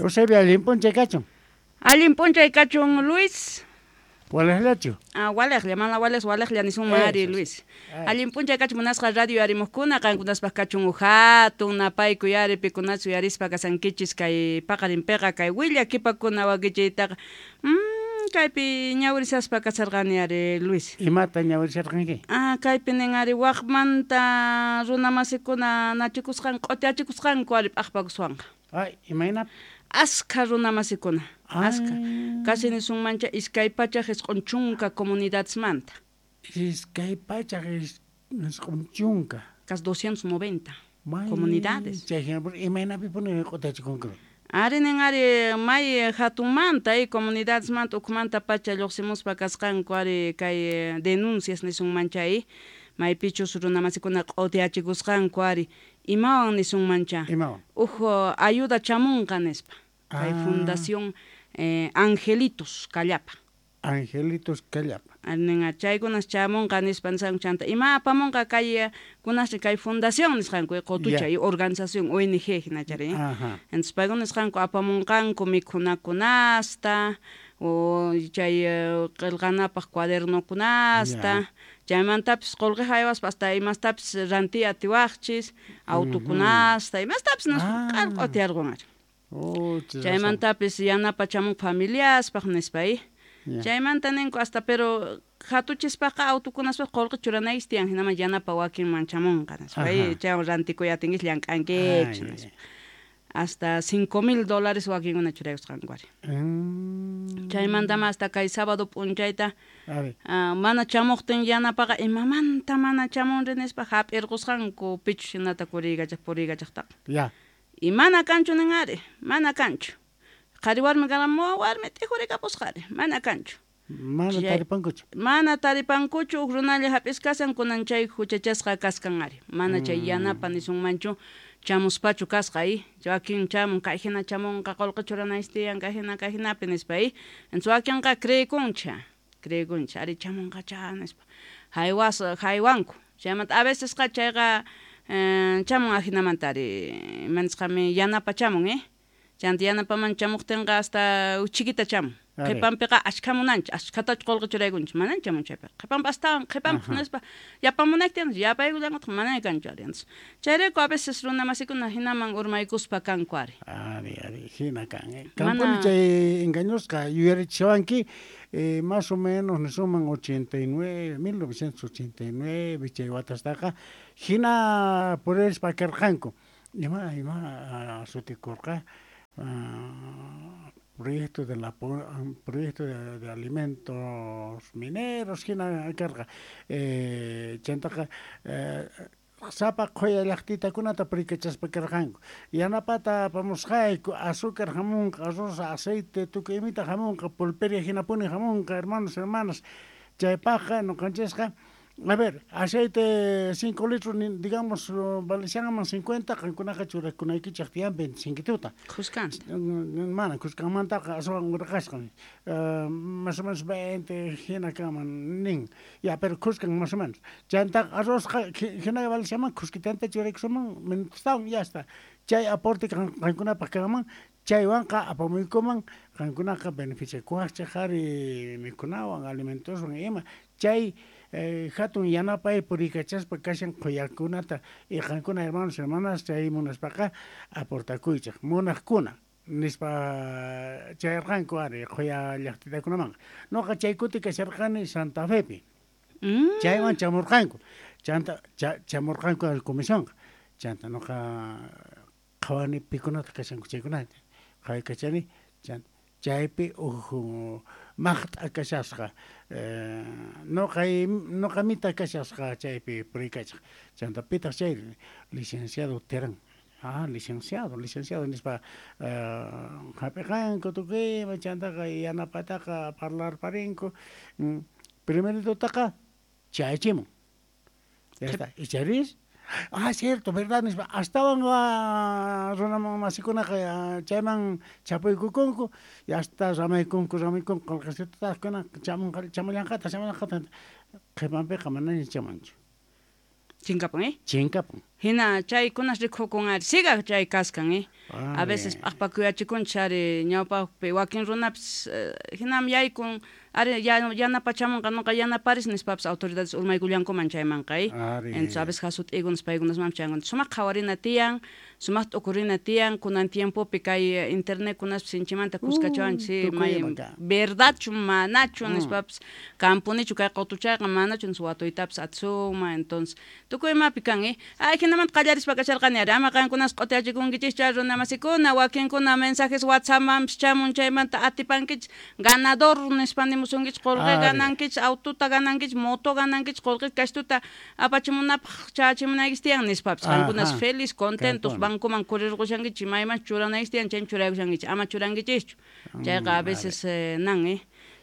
Eusebio, allin p'unchay kachun. Allin p'unchay kachun, Luis. Waliqllachu? Ah, waliqlla, mana waliq, waliqlla nisunman ari, Luis. Allin p'unchay kachun munasqa radio yarimuqkuna, qankunaspaq kachun hatun napaykuy ari pikunachu yarispa kasankichis kay paqarinpiqa kay willakipakuna wakichiytaqa. Kaypi ñawirisaspa kasarqani ari, Luis. Imata ñawirisarqanki? Ah, kaypi nin ari waqmanta runamasikuna nachikusqan q'utiachikusqanku ari p'aqpakuswanqa. Ay, imayna? Askha runamasikuna, askha. Casi nisunmancha 290 comunidadesmanta. 290. Casi 290 comunidades. Chay imaynapipuni q'utiachikunku? Ari nin ari may hatunmanta comunidadesmanta ukhumanta pacha lluqsimuspa kasqanku ari kay denuncias nisunmancha maypichus runamasikuna q'utiachikusqanku ari imawan nisunmancha. Imawan? Uj ayuda chamunqa nispa. Kay Fundación Angelitos Callapa. Angelitos Callapa. Ari chaykunas chamunqa nispa nisqanku chanta ima apamunqa kay kunasri kay fundación nisqanku qutucha y organización ONG hinachari. Entonces paykuna nisqanku apamunqanku mikhunakunasta o chay qillqanapaq cuadernokunasta. Chaymantapis qullqi haywaspa hasta imastapis rantiy atiwaqchis autokunasta imastapis nispa q'utiarqun ari. Chaymantapis yanapa chamun familiaspaq nispa Chaymanta ninku hasta pero hatuchispaqqa autokunaspaq qullqi churanaykichis tiyan hinaman yanapa wakinman chamunqa nispa chaywan rantikuy atinkis llank'ankichis nispa. Hasta $5,000 wakinkuna churaykusqanku ari. Chaymantama hasta kay sábado p'unchayta mana chamuqtin yanapaqa imamanta mana chamunri nispa hap'irqusqanku pichus hinata kuriykachaq puriykachaqtaqa. Y mana kanchu nin ari, mana kanchu. Qhari warmi karqa warmi t'ijurikapusqa ari, mana kanchu. Mana taripankuchu. Mana taripankuchu huk runalla hap'iskasan kunan chay huchachasqa kaskan ari. Mana chay yanapa nisunmanchu chamuspachu kasqa wakin chamun kay hina chamunqa qullqi churanaysi tiyan kay hina kay hinapi nispa Entonces wakinqa creekuncha, creekuncha ari chamunqa cha nispa. Haywas haywanku. Chaymanta a vecesqa chayqa chamun ajinamanta ari imanisqami yanapa chamun Chanta yanapaman chamuqtinqa hasta chiquita chamun. Qhipanpiqa ashkha munanchik, ashkhatachu qullqi churaykunchik, manan chamun chaypiqa. Qhipanpi astawan qhipanpi nispa yapamunayki yapaykullankutaq manan kanchu ari. Entonces chayrayku a veces runamasikuna hinaman urmaykuspa kanku ari. Ari, ari, hina kan. Kanpuni chay engañosqa yuyarichiwanki más o menos nisunman 89, 1989 chay watastaqa hina purispa karqanku. Ima sutikurqa proyecto de la proyecto de alimentos mineros hina karqa chantaqa sapa qhuya llaqtitakunata purikachaspa karqanku yanapata apamusqayku azúcar hamunqa arroz aceite tukuy imita hamunqa pulperia hinapuni hamunqa hermanos hermanas chaypaqqa ñuqanchisqa. A ver, aceite 5 litros, digamos, valencianaman 50, qankunaqa churakunaykichaq tiyan 25 tuta. Khuskan. Mana, khuskanmantaqa aswan urqasqan. Más o menos 20 hina kanman nin. Ya, pero khuskan más o menos. Chaymantaqa arrozqa hina valenciaman khuskitanta churaykusunman minutostawan ya está. Chay aporte qankunapaq kanman, chaywanqa apamuykuman qankunaqa beneficiakuwaqchik ari mikhunawan alimentoswan ima. Chay hatun yanapay puriykachaspa kashan qhuyakunata y qankuna hermanos hermanas chay munaspaqa aportakuychik munaqkuna nispa chayarqanku ari qhuya llaqtitakunamanqa. Nuqa chay kuti kasharqani Santa Fepi. Chaywan chamurqanku. Chanta chamurqanku comisionqa. Chanta nuqa qhawani pikunata kashanku chaykunata. Qhawaykachani chanta chaypi uj maqt'a kashasqa nuqa mita kashasqa chaypi puriykachaq. Chanta pitaq chay licenciado Terán. Ah, licenciado, licenciado nispa hap'iqanku tukuyma chantaqa yanapataqa parlarparinku. Primeritotaqa chayachimun. Ya está. Icharis ah, cierto, verdad nispa astawan runamasikunaqa chayman chapuykukunku y hasta ramaykunku ramaykunku qullqisitutakuna chamunqa chamullanqataq chamullanqataq qhipanpiqa manaña chamunchu. Chinkapun Chinkapun. Hina chaykunas rikukun ari siga chay kaskan a veces p'aqpakuyachikunchis ari ñawpaqpi wakin runapis hinam yaykun ari yanapachamunqa nuqa yanaparis nispapis autoridades urmaykullankuman chaymanqa entonces a veces hasut'ikunas paykunasmanpis chayankunas sumaq qhawarina tiyan sumaq t'ukurina tiyan kunan tiempopi kay internet kunaspis sinchimanta kuskachawanchis may verdadchu manachu nispapis kampunichu kay qutuchayqa manachu nispa watuytapis atisunman entonces tukuy imapi kan ay hinamanta qallarispa kasharqani ari ama qankunas q'utiyachikunkichis runamasikuna wakinkuna mensajes WhatsAppmanpis chamun chaymanta atipankichis ganador nispa nimusunkichis qolqe ganankichis autota ganankichis moto ganankichis qolqe kashtuta apachimunapaq chachimunaykichis tiyan nispapis qankunas feliz contentos bancoman kurirqushankichis mayman churanaykichis tiyan chayman churaykushankichis ama churankichischu chayqa a veces nan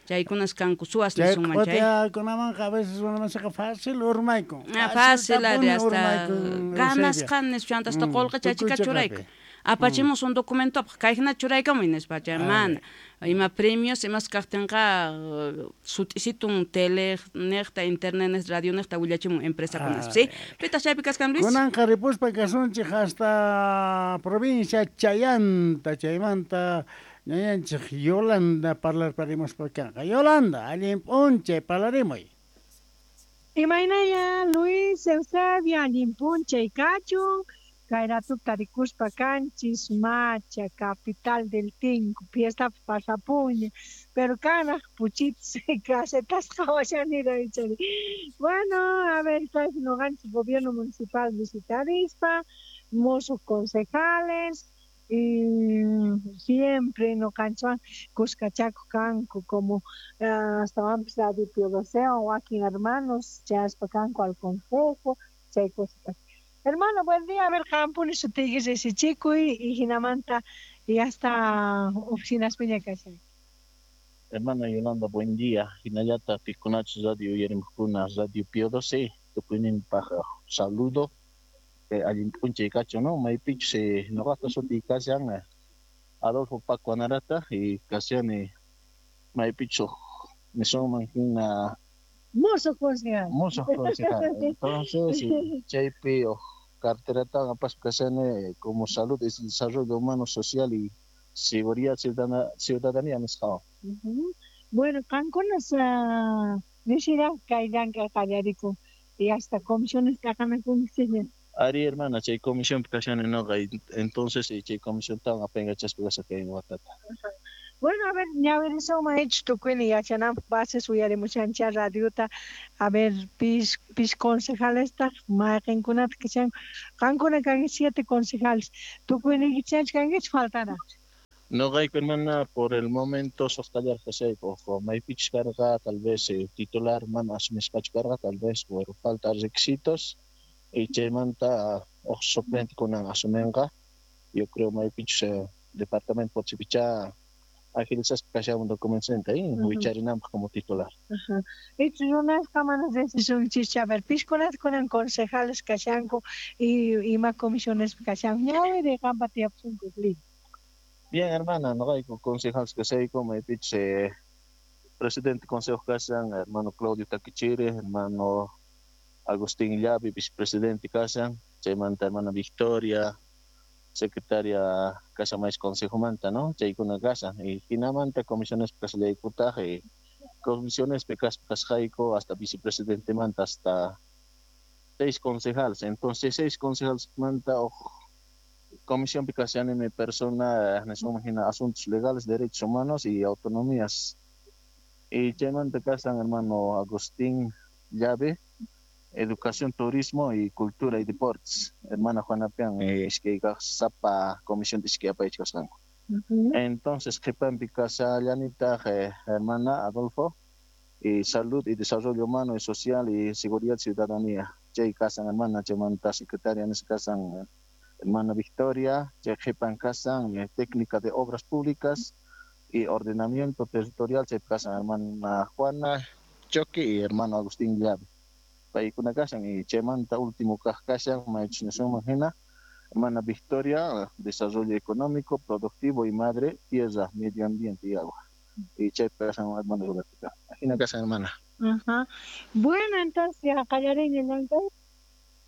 chaykunas kanku suwas nisunman chay q'utiyakunamanqa a veces runamasqa fácil urmaykun fácil ari hasta ganasqa nispa hasta qolqe chachika churayku apachimus un documentopaq kay hina churaykamuy nispa chay mana ima premios imas kaqtinqa sut'isitun tele niqta internet niqta radio niqta willachimun empresakunas sí pitaq chaypi kaskan Luis kunanqa ripuspa kasunchik hasta provincia Chayanta chaymanta ñañanchik Yolanda parlarparimuspa kanqa Yolanda allin p'unchay parlarimuy. Imaynaya Luis Eusebia allin p'unchay kachun kay ratup tarikuspa kanchis Macha capital del Tinku fiesta pasapuña pero kanaq puchitas casetas qhawashanira ichari. Bueno, a ver, kay noqanchis gobierno municipal visitarispa musuq concejales y siempre noqanchwan kuskachakuq kanku como astawanpis Radio Pío XII wakin hermanos chayaspa kanku al consejo chay cosas. Hermano, buen día. A ver, qampuni sutiyki risichikuy y hinamanta y hasta oficinas piña kashan. Hermana Yolanda, buen día. Hinallata pikunachus radio uyarimuqkuna Radio Pío XII tukuyninpaq saludo. Allin p'unchay kachu, ¿no? Maypichus noqata sutiy kashan Adolfo Paco Anarata y kashani maypichus nisunman hina Mozo concejal. Mozo concejal. Entonces, chaypi carterata apaspa kashani como salud y desarrollo humano, social y seguridad ciudadanía nisqawan. Bueno, qankunas nisira kay llank'ay qallarikun y hasta comisiones t'aqanakunkichikña. Ari hermana, chay comisión kashani noqa entonces chay comisión tawan apaykachaspa kasha kay watata. Bueno, a ver, ñawirisunman ichu tukuyni yachananpaq bases uyarimushanchá radiota. A ver, pis concejalestaq mayqinkunataq kashanku. Qankuna kanki 7 concejales. Tukuyniykichikchu kankichik faltaraq. Noqayku hermana, por el momento suqtallar kashayku ojo maypichus karqa tal vez titular mana asumisqachu karqa tal vez por falta requisitos y chaymanta uq suplente kunan asuminqa. Yo creo maypichus departamento Potosipichá agilizaspa kashamun documentosta wicharinanpaq como titular. Ichu runasqa mana risisunchikchu. A ver, piskunata kunan concejales kashanku y ima comisiones kashanku. Ñawiri qampa tiyapusunku. Bien, hermana, noqayku concejales kashayku maypichus presidente consejo kashan hermano Claudio Taquichiri, hermano Agustín Llavi, vicepresidente kashan, chaymanta hermana Victoria, secretaria kashan mays consejomanta, ¿no? Chaykuna kashan y hinamanta comisiones kasallaykutaq y comisiones kasqayku hasta vicepresidente manta hasta 6 concejales. Entonces 6 concejales manta comisión kashani mi persona nisunman hina asuntos legales, derechos humanos y autonomías. Y chaymanta kashan hermano Agustín Llave, Educación, Turismo y Cultura y Deportes. Hermana Juana Pian, iskay kaq sapa comisión iskay apaychikasqanku. Entonces qhipanpi kashallanitaq hermana Adolfo y Salud y Desarrollo Humano y Social y Seguridad Ciudadanía. Chay kasan hermana, chaymanta secretaria nisqa kasan hermana Victoria, chay qhipan kasan Técnica de Obras Públicas y Ordenamiento Territorial, chay kasan hermana Juana Choque y hermano Agustín Llave. Paykuna kashan y chaymanta último kaq kashan maychus nisunman hina hermana Victoria, Desarrollo Económico, Productivo y Madre, Tierra, Medio Ambiente y Agua. Y chaypi kashan hermana Roberta. Hina kashan hermana. Ajá. Bueno, entonces ya qallariña llank'ay.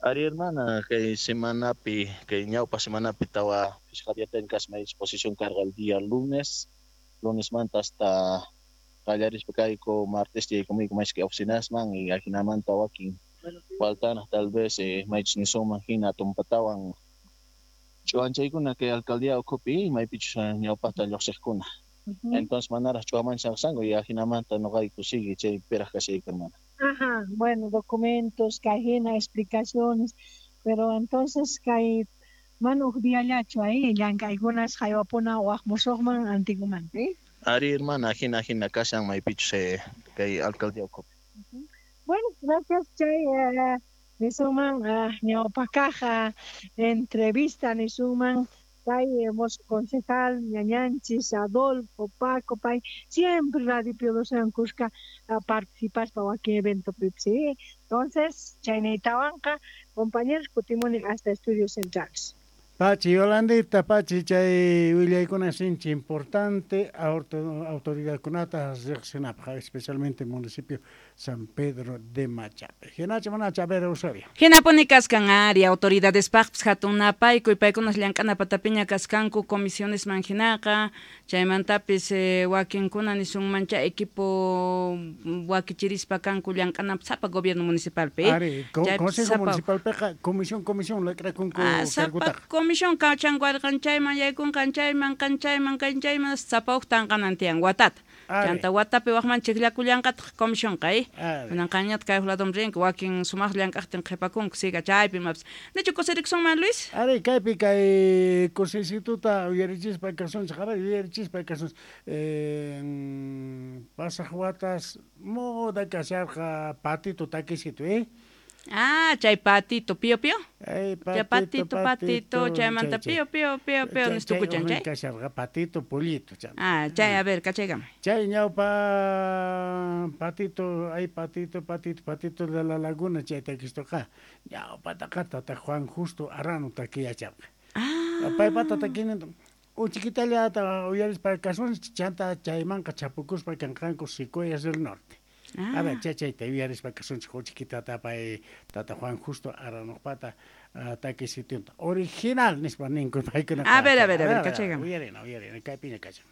Ari hermana, kay semanapi, kay ñawpa semanapi tawa phishqa kasma exposición carga el día lunes, lunes manta hasta qallarispa kayku martes yaykumuyku maychik oficinasman y ajinamanta wakin faltana tal vez maychus nisunman hina tumpatawan ch'uwanchaykuna kay alcaldía ukhupi maypichus ñawpaqta lluqsiqkuna. Entonces manaraq ch'uwamanchaqsanku y ajinamanta nuqayku sigue chay piraq kashayku hermana. Ajá, bueno, documentos, kay explicaciones, pero entonces kay mana huk diallachu ahí llank'aykunas haywapuna waq musuqman antiguman, ¿sí? Ari hermana, hina hina kashan maypichus kay alcaldía ukhupi. Bueno, gracias chay nisuman ñawpaq entrevista nisuman kay concejal ñañanchis Adolfo Paco pay siempre Radio Pío XII kuska participaspa wakin evento ¿sí? Entonces chaynaytawanqa compañeros kutimuni hasta estudios centrales. Pachi Yolandita, pachi chay willaykuna sinchi importante autoridadkunata riqsinapaq, especialmente municipio San Pedro de Machape. Hinacha manacha, a ver, Eusebio. Hinapuni kaskan ari autoridadespaqpis hatun napaykuy paykunas llank'ana patapiña kaskanku comisiones man hinaqa chaymantapis wakinkuna nisunmancha equipo wakichirispa kanku llank'anapaq sapa gobierno municipalpi. Ari, consejo municipalpiqa comisión comisión lakrakunku sapa comisión kachankuarqan chayman yaykunqan chayman qanchayman kanchayman sapa huk tanqanan tiyan watata. Chanta watapi waqman chiqllakullanqataq comisionqa Kunanqañataq kay ladom rinki wakin sumaq llank'aqtin qhipakunku siga chaypi imapas. Nichu kusirikusunman Luis? Ari kaypi kay kusisituta uyarichispa kasunchik, a ver uyarichispa kasunchik. Pasaq watas moda kasharqa patito takisitu, Ah, chay patito, pío pío. Ay, patito, patito, chaymanta pío pío pío pío nistukuchan chay. Kasharqa patito, pollito chay. Ah, chay, a ver, kachaykama. Chay ñawpa patito, ay patito, patito, patito de la laguna chay takistuqa. Ñawpataqa tata Juan Justo Arano takiyacharqa. Ah. Paypata takinin uchikitallata uyarispa kasunchik chanta chaymanqa chapukuspa kanqanku Secuoyas del Norte. Ah. A ver, chayta uyarispa kasunchik uchikitata pay tata Juan Justo Aranoqpata takisitunta. Original nispa ninku paykuna. A ver, a ver, a ver, kachaykama. Uyarina, uyarina, kaypiña kachan.